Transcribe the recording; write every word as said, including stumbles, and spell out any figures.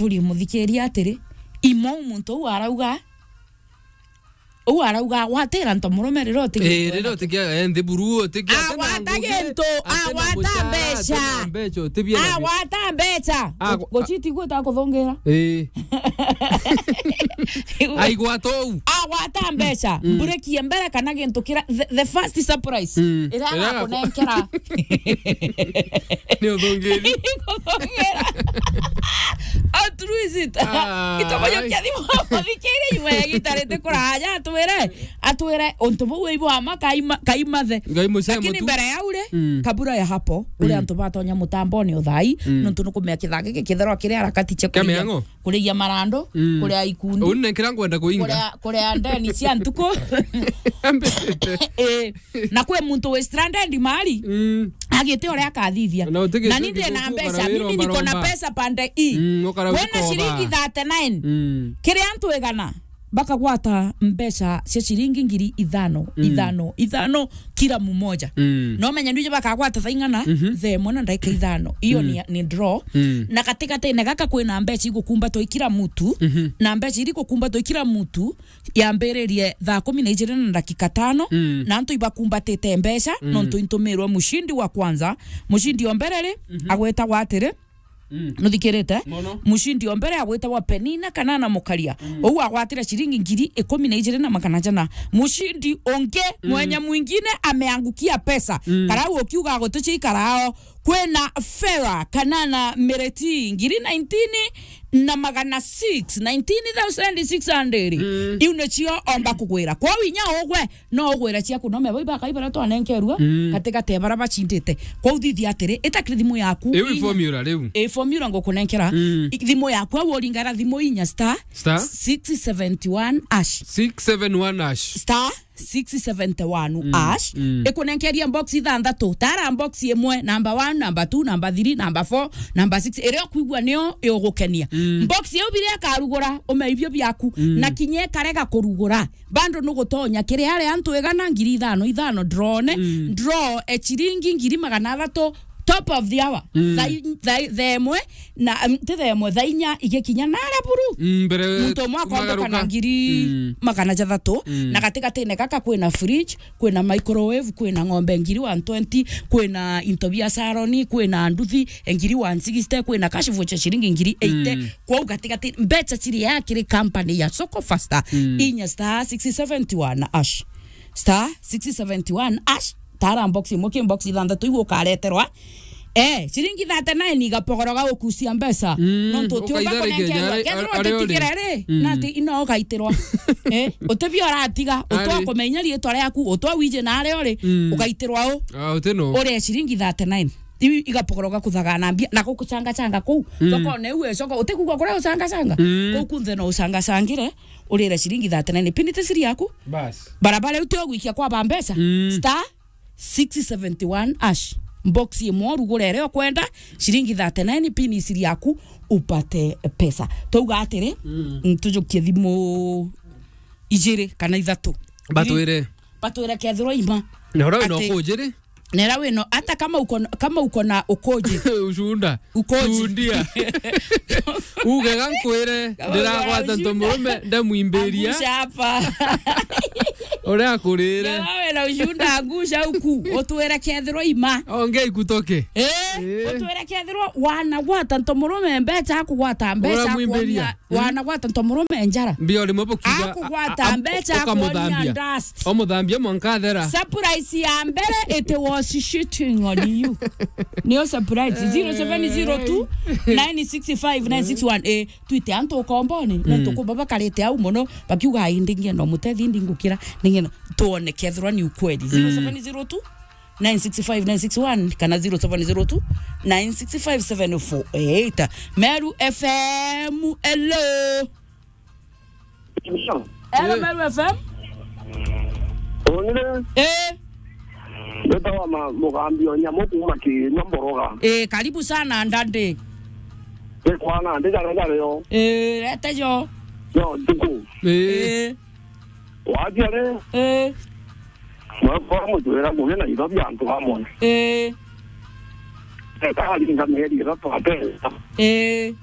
Turi muthikiria atiri, imo muntu uu arauga, uu arauga, "Agwatira nto murume riria utigia Eh, riria utigia, eh, nthi buru, utigia ati na agwata ngugi, gintu, ati na agwata mucara, ati na mbeca. Mbeca, utibia na bi- Agwata mbeca." Agu- Guciti gwita kuthungira. Eh. Aigwata uu. Agwata mbeca, Mm. mburekie mbere kana gintu kira, the, the first surprise. Mm. Iria Iria agaku- agakunenkera. Ni uthungiri. Kuthungira. How true is it? Ah, Itoboyokia ai. Thimu, muthikiri imwe ya gitari ti kuraja, atwire, atwire, untu buu ibo ama kaima, kaimathe. Ngai mucea Lakini mutu. Mbere ya uri, Mm. kabura ya hapo, uri Mm. antu batonya mutamboni uthai, Mm. nontu nukumea kithaki giki kitherwa kiri harakati cia Kia kuria, miang'o? Kuria marandu, Mm. kuria ikundi, Uni nenkira ngwenda kuinga. Kuria, kuria ndeni cia ntuku. Ambite. Eh, na kwi muntu wi stranded mali. Mm. Agite uria akathithia. Na utigite Na ni ndi na mbeca, mimi niko na pesa pande i. Mm, ukara Wena ukomba. Shilingi thirty-nine. Mm. Kiri antu igana, bakagwata mbeca cia shilingi ngiri ithano, Mm. ithano, ithano kila mmoja. Mm. No menya ndio bakagwata thaa ing'ana, Mhm. thaa imwe na ndagika ithano. Iyo Mm. ni, ni draw. Mm. Na katikati-ini gaka kwina mbeca igukumbatwa i kila mtu. Mhm. Na mbeca iri gukumbatwa i kila mtu, yambiririe thaa kumi na ijiri na ndagika tano, Mm. na antu ibakumbatite mbeca, Mm. nontu intumirwe mushindi wa kwanza, mushindi o mbere ri, Mhm. agwetagwa atiri, Mm. nuthikirite? Mono. Mushindi o mbere agwetagwa Penina Kanana Mukaria. Mm. Uu agwatire shilingi ngiri ikumi na ijiri na magana jana. Mushindi ungi, Mm. mwenye mwingine ameangukia pesa. Mm. Karau ukiuga gutuchi ikarao. Kwina Fera Kanana Mireti, ngiri nineteen na magana six, nineteen thousand six hundred. Mm. Iu nicio omba kugwira. Kwou inya ugwe, no ugwire ciaku, no mebo ibakai baria twanenkerua, Mm. katigati ya baria bacindite. Kwou thithia atiri, ita kiri thimu yaku. Iu i formula riu. I formula ngukunenkera. Mm. I-, thimu yaku, au uringara thimu inya star Star? six seventy one hash. Six seven one hash. Star six seventy one Mm, hash. Mm. Ikunenkeria box ithanthatu. Tara box imwe, number one, number two, number three, number four, number six. Iria ukwigua niyo igugukenia. Mm. Box iu biria ikarugura, ume ibio biaku. Mm. Na kinya ikarega kurugura, bando nugutonya kiri aria antu igana ngiri ithano, ithano, draw ne, Mm. draw e chiringi ngiri magana athatu, top of the hour. Mm. Thaa i-, thaa i-, thaa imwe na, um, ti thaa imwe, thaa inya igikinya naria buru. Mm, mbere Muntu umwe akomboka na kumagaruka. ngiri Mm. magana jathatu, Mm. na gatigati-ini gaka kwina fridge, kwina microwave, kwina ng'ombe ngiri one twenty, kwina into bia salon, kwina nduthi, e, ngiri one sixty, kwina cash voucher shilingi ngiri eighty. Mm. Kwou gatigati, mbeca ciria kiri company ya Soko Faster, Mm. inya star six seventy one hash. Star six seventy one hash. Tara box imwe, ki box ithanthatu iu ukareterwa. Eh, shilingi thirty-nine igapogoroga ukucia mbeca. Mm, Nontu uti umba ukaitharekia kunenkerwa. nyare-, Kethirwa ari-, ari utitigire ri, Mm. nati ino ugaitirwa. Eh, utibia uratiga, Ari. utwa kumenya riitwa riaku, utwa wije na aria uri, Mm. ugaitirwa u. Ah, uti no. Uria shilingi thirty-nine. Iu igapogoroga kuthaga na mbia, na gukuchanga changa kuu. Mm. Thokone iu ecoka, utikugwa kuria uchanga changa. Mm. Kuu kunthe no uchanga changire, urire shilingi thirty-nine. Pini ti siri yaku. Bas. Barabara iu ti ugwikia kwa ba mbeca. Mm. Star six seventy one hash. Box imwe urugure iria ukwenda, shilingi thirty-nine, pin isiri yaku, upate pesa. Twauga atiri, Mm. ntujukie thimu ijiri kana ithatu. Batwire. Batwire kethirwa ima. Na uria wina Ati, ukujiri? Na uria wina, hata kama uko na, kama uko na ukuji. Ucunda. Ukoji. Tundia. Ugega nkwire, Kama ndiragwata ucunda. Nto murume, ndamwimbiria. Angusha hapa. Uria akurire. Kama wina ucunda, angusha huku. Utwire kethirwa ima. Ongea ikutoke. Eh, Eh. Utwire kethirwa wanagwata nto murume mbeca, akugwata mbeca, Uramwimbiria. Akuonia, Mm. wanagwata nto murume njara. Mbio rimwe bukiuga, Akugwata a-, a-, mbeca, akuonia ukamuthambia. Dust. Umuthambia mwanka athera. Surprise ya mbere, it was shitting on you. Niyo surprise. Zero seven zero two, nine six five, nine six one. Eh, twite antu ukomboni. Mm. Nontu kumba bakarite au muno, bakiuga, "Ai, ndingienda umutethi, ndingukira, ndingienda." Tuone kethirwa ni ukweli. Mm. Zero seven zero two, nine six five, nine six one, kana zero seven zero two, nine six five, seven four eight. Meru F M, hello. Hello, Eh. Meru F M. Onire. Eh. Mbetawa ma-, Mugambi o Nyamu kuma Kinywa Mboroga. Eh, karibu sana, ndandi. Ni kwana, ndi jare jare yo. Eh, rete jo. Yo, ntuku. Eh. Eh. Wajare. Eh. Mwekora mujwira muge na itho bia antu amwe. Eh. Eka aringa mieri ithatu atesa. Eh.